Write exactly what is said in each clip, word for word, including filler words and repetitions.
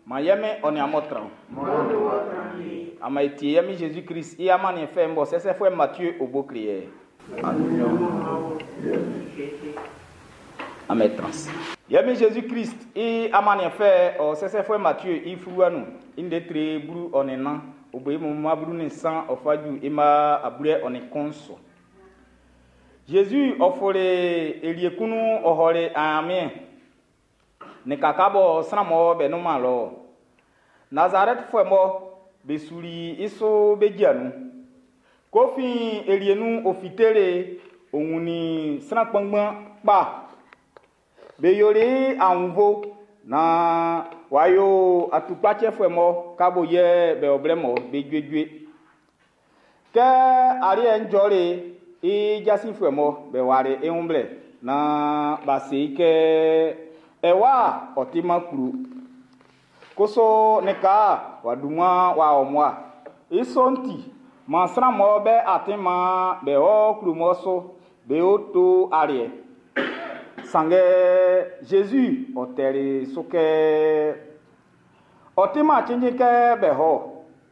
Ma yɛmɛ ɔ ni amɔ tran. Ama etie yɛmi Jésus Christ i amani fɛ mbɔ sɛsɛfɛ Mathieu obo kriɛ. Ame trans. Yɛmi Jésus Christ i amani fɛ ɔ sɛsɛfɛ Mathieu i furuanu inde tre buru ɔnina obo imu maburu ni san ɔfaju ima abure ɔni kɔnso. Jésus ɔfɔle eliekunu ɔhɔle amien. Ne kakabɔ sramɔ bɛ numa lɔ. Nazareth fɔmɔ besuli iso bejianu. Kofi elienu ofitere òun ni sran kpanngban kpa. Be yoli anwuvo na wayo atukpatsɛfuɛ mɔ kabo yɛ bɛ ɔblɛ mɔ be juejue. Kɛ ariɛ njɔle i jasifuɛ mɔ bɛ ware ehunblɛ na base kɛ ɛwa ɔtima kuru. Koso ne ka waduma wa ɔmɔa. Isonti ma sran mɔ bɛ atima bɛ ɔ kuru mɔ so bɛ o to ariɛ. Sange Jésus ɔtɛri sokɛ ɔtima tsintin kɛ bɛ hɔ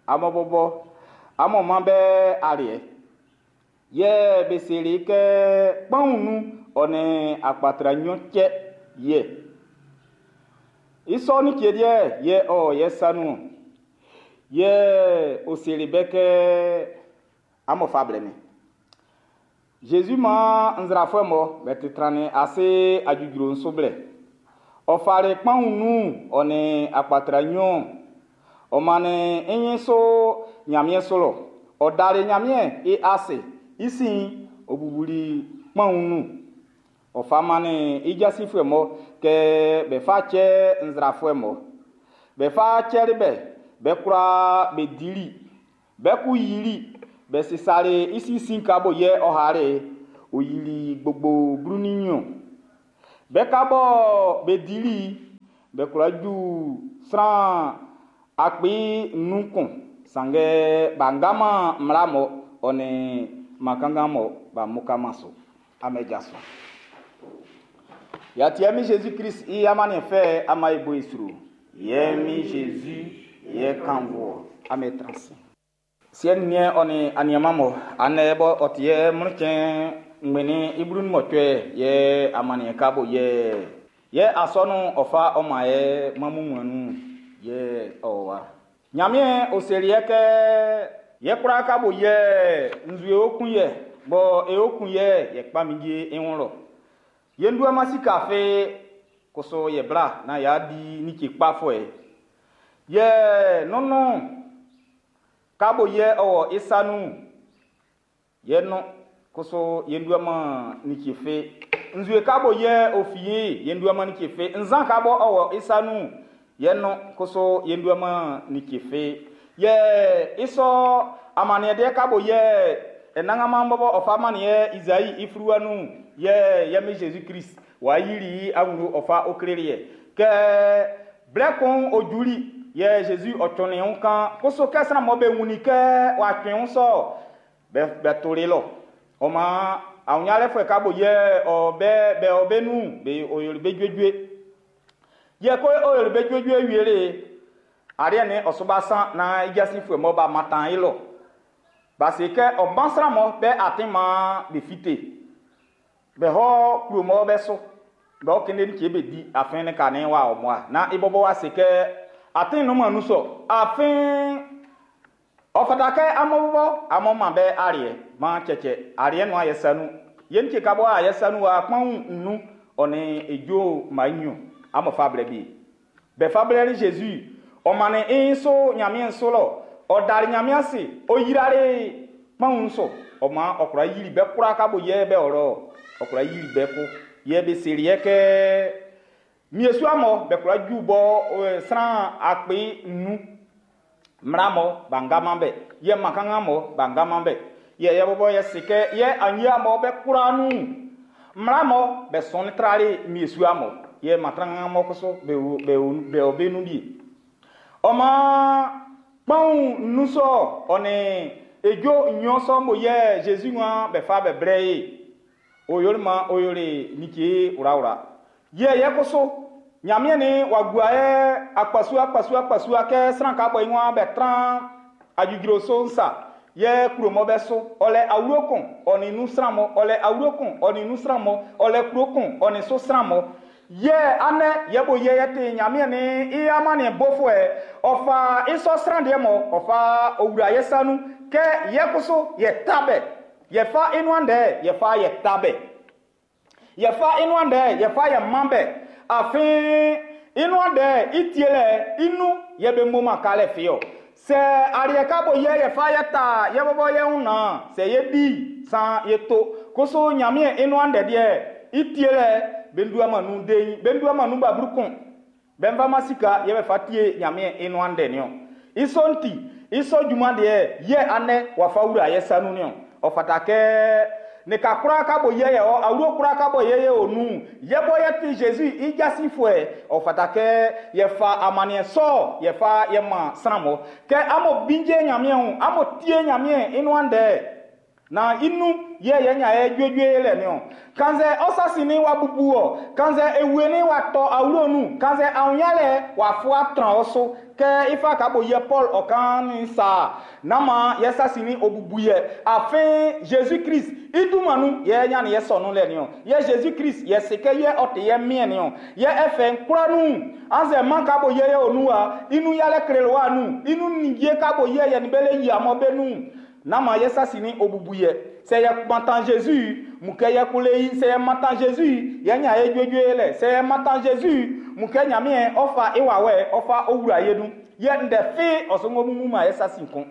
amɔbɔbɔ amɔma bɛ ariɛ. Yɛ beseli kɛ kpɔnnu ɔne akpatra nyɔ tsɛ yɛ. Isɔ ni tie deɛ yɛ ɔ yɛ sanu yɛ oseli bɛ kɛ amɔfa blɛmɛ. Jésus ma nzrafo mo bɛ titrani ase adzudzro nsoblɛ. Ɔfari kpɔnnu ɔne akpatra nyɔ ɔmane enyi so nyamie solo ɔdari nyamie e ase isi obubuli kpɔnnu ɔfamane idzasifue mɔ kɛ bɛfa tsɛ nzrafue mɔ bɛfa tsɛri bɛ bɛkura bɛdili bɛku yili bɛsisari isisi kabo yɛ ɔhare oyili gbogbo bruniyɔ bɛkabɔ bɛdili bɛkura dzu sran akpi nukun sange bangama mlamɔ ɔne makangamɔ bamukama so amedzaso. Yati yɛmi Jésus Christ i amani fɛ ama ebo esro. Yɛmi Jésus yɛ kanvɔ ame transi. Siɛ niɛ ɔni aniamamɔ anɛ bɔ ɔtiɛ mlitsɛ ŋmeni ibrun mɔtsɛ yɛ amani kabo yɛ yɛ asɔnu ɔfa ɔma yɛ mamumuanu yɛ ɔwa. Nyamie oseliɛ kɛ yɛ kura kabo yɛ nzue okun yɛ bɔ eokun yɛ yɛ kpamidie eŋu lɔ. Yendu amasi kafe koso yɛ bla na ya di nitsi kpafɔɛ. Yɛ nunu kabo yɛ ɔwɔ isanu yɛ nu koso yendu ama nitsi fe. Nzue kabo yɛ ofie yendu ama nitsi fe. Nzan kabo ɔwɔ isanu yɛ nu koso yendu ama nitsi fe. Yɛ isɔ amaniɛdeɛ kabo yɛ ɛnaŋama bɔbɔ ɔfa amaniɛ Izayi ifruanu yɛ yɛmi Jésus Christ wa yiri awuro ɔfa okrelie kɛ blɛkun ojuli yɛ Jésus ɔtsɔni ŋu kan koso kɛsina mɔ bɛ ŋuni kɛ wa tsɔn ŋu sɔ bɛ bɛ tori lɔ ɔma awunyalɛ fɛ kabo yɛ ɔbɛ bɛ ɔbɛ nu bɛ oyori bɛ dzuedzue yɛ ko oyori bɛ dzuedzue wiele ariɛ ni ɔsubasan na idzasi fɛ mɔ ba matan yi lɔ parce que ɔbansra mɔ bɛ ati ma bɛ fite bɛ hɔ kuro mɔ bɛ so bɛ ɔkene ni tse bɛ di afɛn ne ka ne wa ɔmɔa na ibɔbɔ wa se kɛ ati nu ma nu sɔ afɛn ɔfata kɛ amɔbɔbɔ amɔma bɛ ariɛ ma tsɛtsɛ ariɛ nu ayɛ sanu yen tse kabɔ ayɛ sanu wa kpɔn nu ɔne edzo ma nyo amɔfa blɛ bi bɛfa blɛ ni Jésus ɔmane inso nyamie nso lɔ ɔdari nyamia se oyirare kpɔn nso ɔma ɔkura yiri bɛ kura kabo yɛ bɛ ɔrɔ ɔkura yiri bɛ ko yɛ bɛ seri yɛ kɛ miesu amɔ bɛ kura ju bɔ ɛ sran akpe nu mramɔ bangama bɛ yɛ makanga mɔ bangama bɛ yɛ yɛ bɔbɔ yɛ sikɛ yɛ anyi amɔ bɛ kura nu mramɔ bɛ sɔnni trari miesu amɔ yɛ matranga mɔ koso bɛ wo bɛ wo bɛ wo bɛ nu bi ɔma kpɔn nusɔ ɔne edzo nyɔsɔ mo yɛ Jésus ŋua bɛ fa bɛ brɛ ye oyori ma oyori nitse wurawura yɛ yɛ koso Ɲanmiɛn ni wa gua yɛ akpasua akpasua akpasua kɛ sran ka bɔ i wan bɛ tran adjudro so nsa yɛ kuro mɔ bɛ so ɔlɛ awuro kun ɔni nu sran mɔ ɔlɛ awuro kun ɔni nu sran mɔ ɔlɛ kuro kun ɔni so sran mɔ yɛ anɛ yɛ bo yɛ yɛ te Ɲanmiɛn ni i amani bofuɛ ɔfa isɔ sran deɛ mɔ ɔfa owura yɛ sanu kɛ yɛ koso yɛ tabɛ yɛ fa inuan dɛ yɛ fa yɛ tabɛ yɛ fa inuan dɛ yɛ fa yɛ man bɛ afin inuan dɛ itie lɛ inu yɛ bɛ mo ma kalɛ fiɔ sɛ ariɛ ka bo yɛ yɛ fa yɛ ta yɛ bɔbɔ yɛ ń na sɛ yɛ di san yɛ to koso Ɲanmiɛn inuan dɛ deɛ itie lɛ bɛ ndu ama nu den bɛ ndu ama nu baburu kun bɛ nfa ma sika yɛ bɛ fa tie Ɲanmiɛn inuan dɛ niɔ isɔ nti isɔ juma deɛ yɛ anɛ wafa wura yɛ sanu niɔ ɔfata kɛ ne ka kura ka bo yɛ yɛ ɔ awuro kura ka bɔ yɛ yɛ o nu yɛ bɔ yɛ ti Jésus i jasi fuɛ ɔfata kɛ yɛ fa amaniɛ sɔ yɛ fa yɛ ma sran mɔ kɛ amo binje Ɲanmiɛn o amo tie Ɲanmiɛn inuan dɛ na inu yɛ yɛ nya yɛ juejue lɛ niɔ kanzɛ ɔsasi ni wa bubu ɔ kanzɛ ewe ni wa tɔ awuro nu kanzɛ awunya lɛ wa fo atran ɔso kɛ ifa ka bo yɛ Paul ɔkan ni sa nama yɛ sasi ni obubu yɛ afin Jésus Christ idumanu yɛ nya ni yɛ sɔnu lɛ niɔ yɛ Jésus Christ yɛ se kɛ yɛ ɔte yɛ miɛ niɔ yɛ ɛfɛ nkura nu anzɛ man ka bo yɛ yɛ onu wa inu yalɛ kele wa nu inu nidie ka bo yɛ yɛ ni bɛ le yi amɔ bɛ nu nama yɛ sasi ni obubu yɛ sɛ yɛ matan Jésus mukɛ yɛ kule yi sɛ yɛ matan Jésus yɛ nya yɛ juejue lɛ sɛ yɛ matan Jésus mukɛ Ɲanmiɛn ɔfa iwawɛ ɔfa owura yɛ nu yɛ ndɛ fi ɔsɔŋɔ mumu ma yɛ sasi kun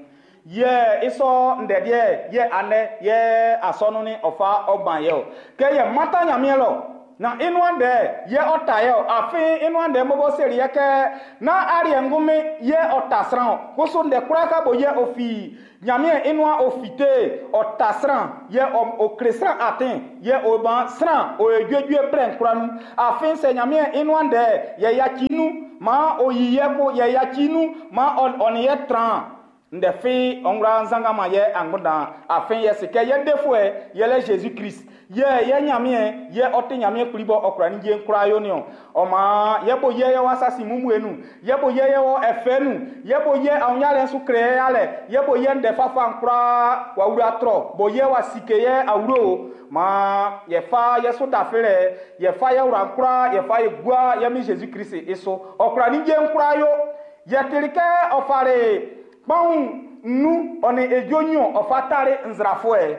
yɛ isɔ ndɛdeɛ yɛ anɛ yɛ asɔnu ni ɔfa ɔban yɛ o kɛ yɛ matan Ɲanmiɛn lɔ na inuan dɛ yɛ ɔta yɛ o afin inuan dɛ mɔbɔ seri yɛ kɛ na ariɛ ŋgumi yɛ ɔta sran o koso ndɛ kura ka bo yɛ ofi Ɲanmiɛn inuan ofite ɔta sran yɛ ɔ okle sran atin yɛ oban sran o juejue brɛ nkura nu afin sɛ Ɲanmiɛn inuan dɛ yɛ yatsi nu ma oyi yɛ ko yɛ yatsi nu ma ɔni yɛ tran ndɛ fi ɔnwura nzangama yɛ angbodan afin yɛ sikɛ yɛ defuɛ yɛ lɛ Jésus Christ yɛ yɛ Ɲanmiɛn yɛ ɔte Ɲanmiɛn kpli bɔ ɔkura ni dze nkura yo ni o ɔma yɛ bo yɛ yɛ wa sasi mumu enu yɛ bo yɛ yɛ wɔ ɛfɛ nu yɛ bo yɛ awunya lɛ ŋsu kle yɛ lɛ yɛ bo yɛ ŋdɛ fafa nkura wa wura trɔ bo yɛ wa sike yɛ awuro ma yɛ fa yɛ so dafe lɛ yɛ fa yɛ wura nkura yɛ fa yɛ gua yɛ mi Jésus Christ eso ɔkura ni dze nkura yo yɛ teli kɛ ɔfare kpɔn nu ɔni edzo nyo ɔfa tari nzrafoɛ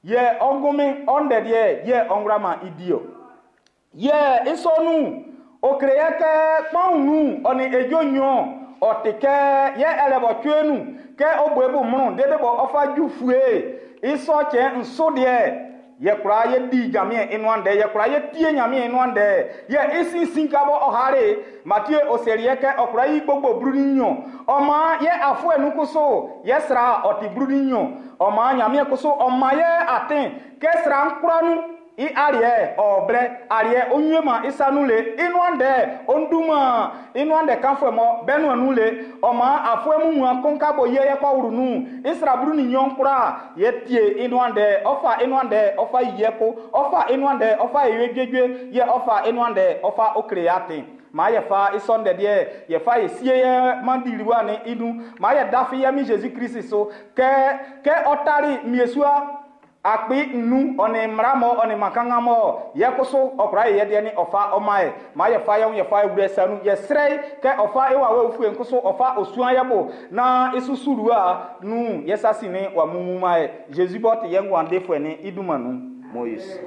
yɛ ɔgumi ɔndɛdeɛ yɛ ɔnwurama idio yɛ isɔnu okele yɛ kɛ kpɔn nu ɔni edzo nyo ɔti kɛ yɛ ɛlɛbɔ tsoe nu kɛ oboe bu munu dede bɔ ɔfa dzu fue isɔ tsɛ nso deɛ yɛ kura yɛ di Ɲanmiɛn inuan dɛ yɛ kura yɛ tie Ɲanmiɛn inuan dɛ yɛ isinsin kabɔ ɔhare Matthieu oseri yɛ kɛ ɔkura yi gbogbo bruni nyɔ ɔma yɛ afɔ ɛnu yɛ sra ɔti bruni nyɔ ɔma Ɲanmiɛn koso ɔma yɛ atin kɛ sra nkura nu i ariɛ ɔblɛ ariɛ onyuema isanu le inuan dɛ onduma inuan dɛ kanfɔ mɔ bɛnu ɛnu le ɔma afɔ emu akɔnkabo yɛ yɛ kɔ wuru nu isra bruni nyɔ nkura yɛ tie inuan dɛ ɔfa inuan dɛ ɔfa yɛ ko ɔfa inuan dɛ ɔfa yɛ juejue yɛ ɔfa inuan dɛ ɔfa okele ya ten maa yɛ fa isɔn dɛdeɛ yɛ fa yɛ sie yɛ mandiliwa ni inu maa yɛ dafi yɛ mi Jésus Christ so kɛ kɛ ɔtari miesua akpi nu ɔni mramɔ ɔni makangamɔ yɛ koso ɔkura yɛ deɛ ni ɔfa ɔma yɛ maa yɛ fa yɛ yɛ fa ewurɛ sanu yɛ srɛ kɛ ɔfa ewa wɛ ofue nkoso ɔfa osua yɛ bo na esusurua nu yɛ sasi ni wa mumu ma yɛ Jésus bɔ ti yɛ ŋuan de fue ni iduma nu Moïse.